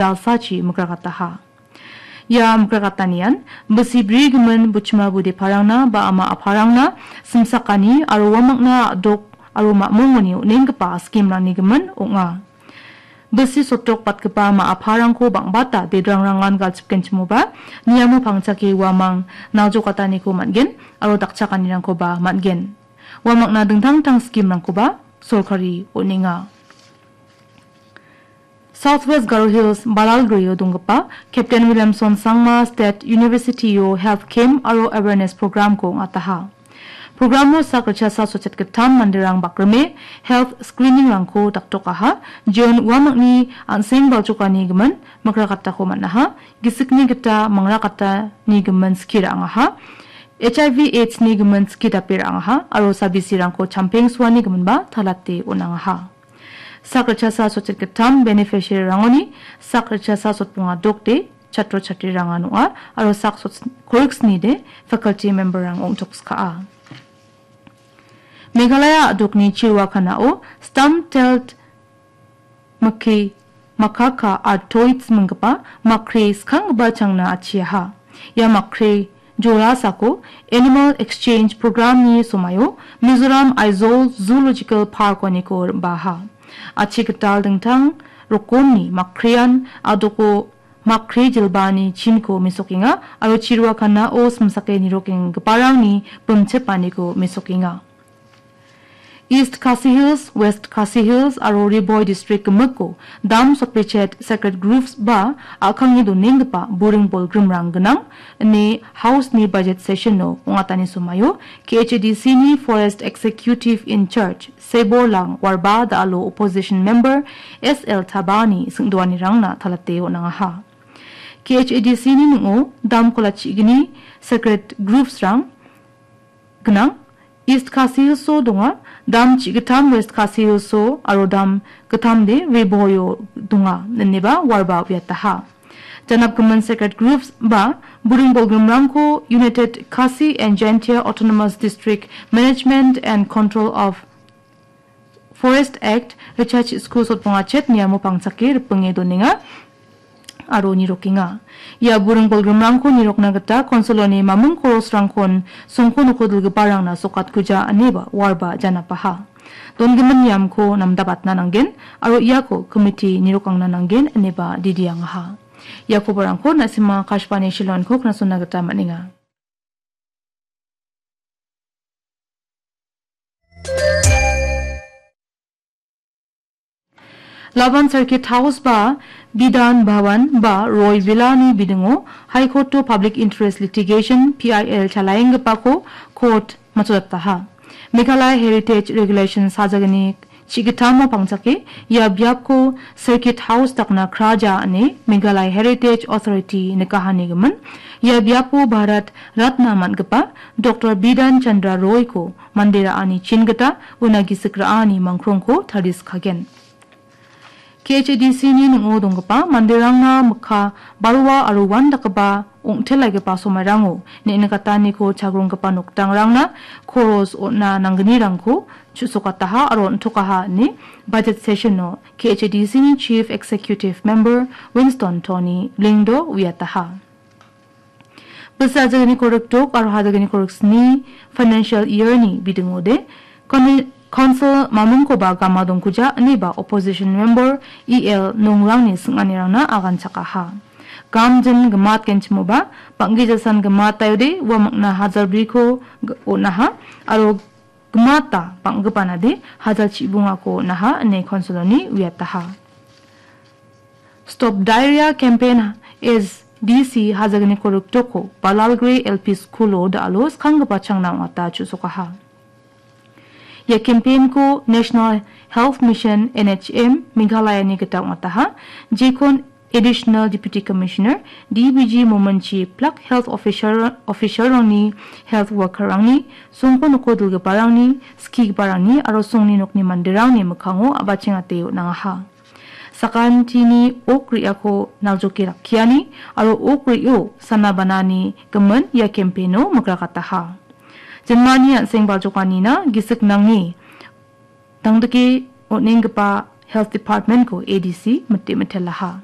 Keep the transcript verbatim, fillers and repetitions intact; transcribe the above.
jalsachi mikrakataha. Ia mikrakatanian bisi brigimin buchima budeparangna ba ama aparangna simsakani aro uamakna a·dok aro mamungoni on·enggipa scheme-rangni gimin ong·a. Bisi sotok batgipa ma·aparangko bang·bata dedrangrangan galchipgenchimoba, niamo pangchake uamang naljokataniko man·gen aro dakchakanirangkoba man·gen. Uamangna dingtang dingtang scheme-rangkoba sorkari on·enga. South West Garo Hills Balalgrio donggipa Captain Williamson Sangma State University-o Health Camp aro Awareness Program-ko ong·ataha. Programo sak ritchasa sotchet gittam manderang bakrime health screening-rangko daktokaha. June uamangni an·seng baljokani gimin mikrakatako man·aha. Gisikni gita mangrakatani gimin skie ra·angaha. H I V AIDS-ni gimin skie dape ra·angaha aro sabisirangko champeng suani giminba talate on·angaha. Sak ritchasa sotchet gittam beneficiary-rangoni sak ritchasa sotbonga dokde chatro chatrirang ong·a aro sak sot-, koriksnide faculty member-rang ong·tokskaa. Meghalaya a·dokni Chiruakanao stem cell mike makaka artoids minggipa makre skanggipa changna achiaha. Ia makre jorasako Animal Exchange Program-ni somaio Mizoram Aizawl Zoological Park-oniko rim·baha. Achi gital dingtang rokomni makrean a·doko makre jilbaani chinko mesokenga aro Chiruakanao simsake nirokenggiparangni bimchipaniko mesokenga. East Khasi Hills, West Khasi Hills aro Ri Bhoi District gimikko dam sotbechet sacred groves ba a·kangni donenggipa buring bolgrimrang gnang ine House-ni budget session-o ong·atani somaio K H A D C-ni Forest Executive in Charge Seborlang Warba da·alo opposition member S L Tabani singdoanirangna talate on·angaha. K H A D C-ni ning·o dam kola chigni sacred groves-rang gnang. East Khasi Hills-o donga, dam chigittam West Khasi Hills-o aro dam gittamde Ri Bhoi-o donga, ineba Warba uiataha. Janapgimin sacred groves ba buring bolgrimrangko United Khasi and Jaintia Autonomous District Management and Control of Forest Act, ritchasa sotbonga chet niamo pangchake ripinge donenga aro nirokenga. Ia buring bolgrimrangko nirokna gita konsoloni mamung korosrangkon songko noko dilgiparangna sokatkuja ineba Warba janapaha. Dongimin niamko namdabatna nanggen aro iako komiti nirokangna nanggen ineba didiangaha. Ia koborangko na·sima Akashvani Shillong-ko knasona gita man·enga. Laban Circuit House ba Bidhan Bhawan ba Roy Villa-ni bidingo High Court-o Public Interest Litigation, P I L, chalaienggipako court matchotataha. Meghalaya Heritage Regulation sajagni chigitamo pangchake ia biapko Circuit House dakna kraja ine Meghalaya Heritage Authority nikahanigimin. Ia biapo Bharat Ratna man·gipa Doctor Bidhan Chandra Roy-ko mande ra·ani chin gita una gisik ra·ani mangkrongko tariskagen. K H A D C-ni ning·o donggipa manderangna mikka barua aro uandakgipa ong·telaigipa somairango neng·nikataniko chagronggipa nokdangrangna koros on·a nanggnirangko chu·sokataha aro on·tokaha ine budget session-o K H A D C-ni Chief Executive Member Winston Tony Lyngdoh uiataha. Bisi hajagni korikdok aro hajagni koriksni financial year-ni bidingode kon-, council mamungkoba gama dongkuja ineba opposition member E L Nongrangni sing·anirangna aganchakaha. Gamjin gimatgenchimoba bang·gijasan gimataiode ua mangna hajalbriko g-, on·aha aro gimata bang·gipanade hajal chibungako on·aha ine council-oni uiataha. Stop Diarrhea Campaign S D C hajagni koriktoko Balalgre L P School-o da·alo skanggipa changna ong·ata chu·sokaha. Ia campaign-ko National Health Mission, N H M, Meghalaya-ni gita ong·ataha. Jekon Additional Deputy Commissioner, D B G Mominchi, plak health official, official-rangni, health worker-rangni, songko noko dilgiparangni, skigiparangni aro songni nokni manderangni mikkango a·bachengate on·angaha. Sakantini ok re·ako naljoke rakkiani aro ok re·o sana banani gimin ia campaign-o mikrakataha. Jinmani an·seng baljokanina gisik nange tangdike on·enggipa Health Department-ko A D C mite mitelaha.